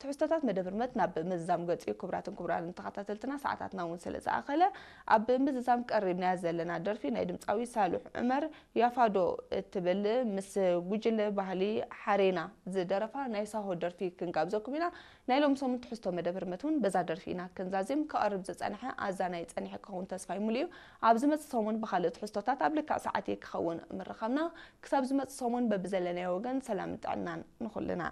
ትሕዝቶታት መደብ ህርመት ናብ ምዝዛም ገጽ እዩ። ክቡራትን ክቡራንን ተኸታተልትና፣ ሰዓታትና እውን ስለ ዝኣኸለ፣ ኣብ ምዝዛም ቀሪብናያ ዘለና ደርፊ ናይ ድምጻዊ ሳልሕ ዑመር ያፋዶ እትብል ምስ ጉጅለ ባህሊ ሓሬና ዝደረፋ ናይ ሳሆ ደርፊ ክንጋብዘኩም ኢና። ናይ ሎም ሰሙን ትሕዝቶ መደብ ህርመት እውን በዛ ደርፊ ኢና ክንዛዝም። ክቐርብ ዝጸንሐ ኣዛናይ ጸኒሐ ክኸውን ተስፋይ ሙሉ እዩ። ኣብ ዝመጽእ ሰሙን ብኻልእ ትሕዝቶታት ኣብ ልክዕ ሰዓት እዩ ክኸውን ምርኻብና። ክሳብ ዝመጽእ ሰሙን በብዘለናዮ ወገን ሰላምን ጥዕናን ንኹልና።